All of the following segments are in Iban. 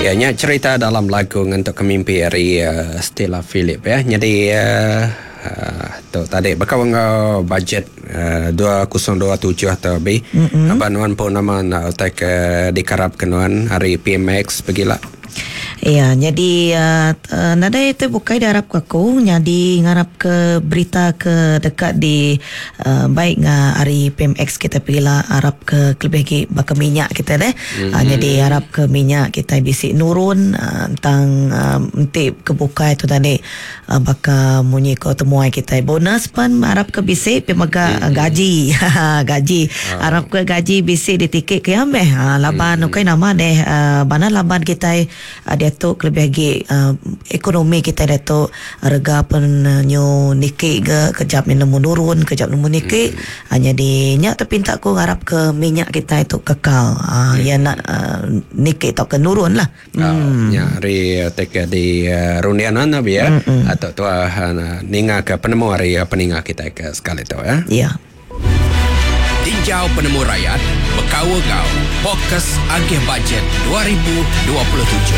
Ya nya cerita dalam lagu ngentuk ke mimpi ari Stella Philip ya. Nyadi tu tadi baka enggau budget 2027 tu bi. Mm-hmm. Aba nuan pun nama nak utai ke dikarap ke nuan ari PMX pegila. Ya, jadi uh, nadai tu bukai diarap ke aku, nyadi ngarap ke berita ke deka di uh, baik nga ari PMX kita pegila arap ke kelebih agi baka minyak kita deh. Mm-hmm. Uh, jadi arap ke minyak kita bisi nurun uh, tentang uh, enti ke bukai tu tadi uh, baka munyi ko temuai kita bonus pan arap ke bisi pi mega mm-hmm. gaji gaji uh. arap ke gaji bisi ditiki ke ya meh uh, laban mm-hmm. ukai nama deh uh, bana laban kita Diatu kelebih agi ekonomi kitai diatu rega pen nyu niki ga kejap nya nemu nurun kejap nemu niki nyadi nya te pinta ku ngarap ke minyak kitai tu kekal iya enda niki tauka nurun lah. Nya ari ti ke di runding nuan abi ya tu tuah ninga ke penemu ari peninga kitai ke sekali tu ya. Ya. Tinjau Penemu Rayat bekaul enggau Fokus Agih Bajet 2027.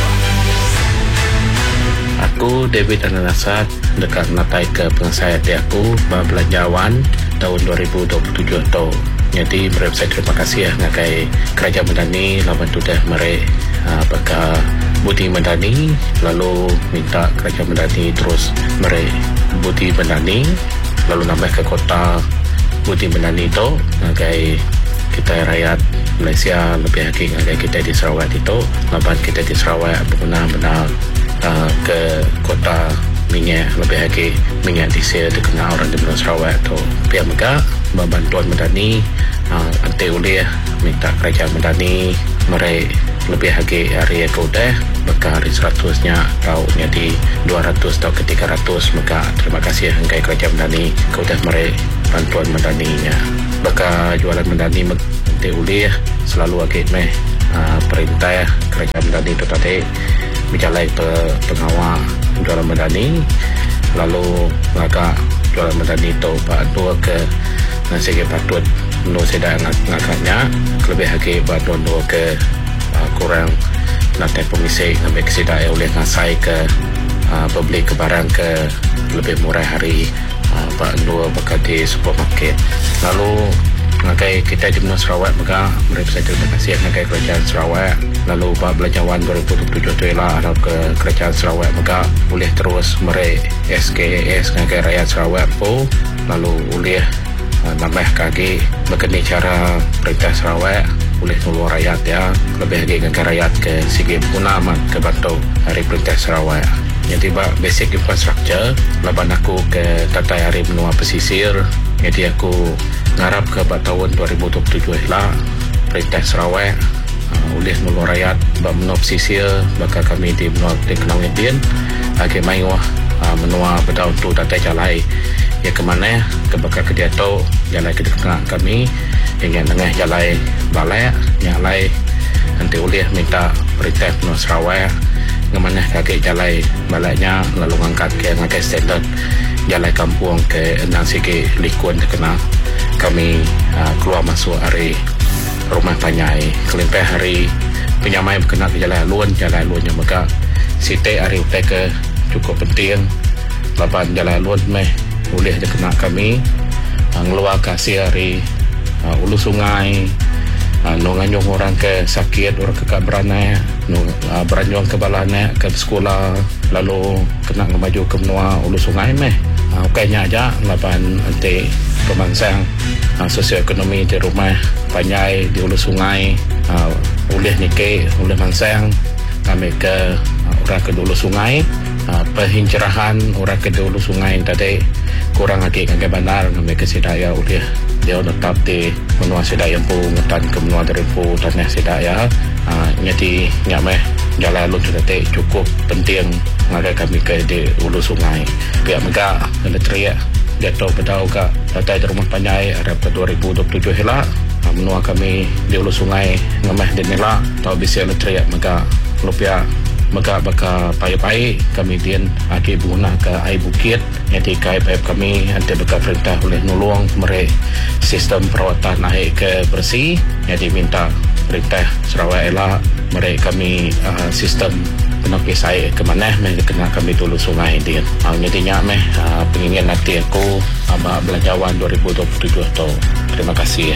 Aku, David Anak Nasat, deka ngenataika pengasai ati aku ba belanjawan taun 2027 tu. Nyadi meri besai terima kasih ngagai Kerajaan Madani laban tudah meri baka Budi Madani lalu minta Kerajaan Madani terus meri Budi Madani lalu nambahka kota Budi Madani tu ngagai kitai rayat Malaysia lebih agi ngagai kitai di Sarawak ditu laban kitai di Sarawak beguna bendar uhh ke kota minyak lebih agi minyak diesel dikena orang di menua Sarawak tu. Pia mega ba bantuan Madani uhh enti ulih minta kerajaan Madani meri lebih agi ari ke udah baka ari seratus nya tau nyadi 200 tauka 300 mega. Terima kasih enggai Kerajaan Madani ke udah meri bantuan Madani nya. Baka jualan Madani mega enti ulih selalu agi meh perintah Kerajaan Madani tu tadi bejalai pe pengawa jualan Madani lalu ngaga jualan Madani tu ba endur ke sigi patut endur sida ngaga nya kelebih agi ba endur-endur ke kurang penatai pemisi ngambika sida iya ulih ngasaika bebeli ke barang ke lebih murah ari ba endur baka di supermarket. Lalu ngagai kitai di menua Sarawak mega meri besai terima kasih ngagai Kerajaan Sarawak lalu ba belanjawan 2027 tu ila arap ke Kerajaan Sarawak mega ulih terus meri SKAS ngagai rayat Sarawak empu lalu ulih nambahka agi baka ni chara perintah Sarawak ulih nulung rayat iya kelebih agi ngagai rayat ke sigi beguna amat ke bantu ari perintah Sarawak. Nyadi ba basic infrastructure laban aku ke datai ari menua pesisir nyadi aku ngarapka ba taun 2027 ila perintah Sarawak ulih nulung rayat ba menua pesisir baka kami di menua Kenawit din agi mayuh menua bedau entu datai jalai iya ke manah ke baka ke diatu jalai ke dikena kami iya nya nengah jalai balak nya alai enti ulih minta perintah menua Sarawak ngemanahka agi jalai balak nya lalu ngangkatka ngagai standard jalai kampung ke endang sigi likun dikena kami keluar masuk ari rumah panjai kelimpah ari penyamai bekena ke jalai alun jalai alun nya mega siti ari utai ke chukup penting laban jalai alun meh ulih dikena kami ngeluarka asil ari ulu sungai anu nganyung orang ke sakit orang ke ka beranak anu beranyung ke bala anak ke besekula lalu kena ngemaju ke menua ulu sungai meh ukai nya aja laban enti pemansang Sosioekonomi ti rumah panjai di ulu sungai ulih niki ulih mansang ngambika orang ke di ulu sungai penghijrahan orang ke di ulu sungai tadi kurang agi ngagai bandar ngambika sida iya ulih diau netap di menua sida iya empu ngetan ke menua diri empu tanah sida iya nyadi nya meh jalai alun tu tadi chukup penting ngagai kami ke di ulu sungai. Pia mega elektrik diatu bedau ga datai di rumah panjai arap ke 2027 ila menua kami di ulu sungai ngemeh di nila tau bisi elektrik mega lalu pia mega baka paip ai kami din agi beguna ke ai bukit nyadi ke ai paip kami enti baka perintah ulih nulung meri sistem perawatan ai ke beresi nyadi minta perintah Sarawak ila. Meri kami sistem penepis ai ke manah meh dikena kami tulu sungai din. Nyadi nya meh pengingin ati aku ba belanjawan 2027 tu. Terima kasih.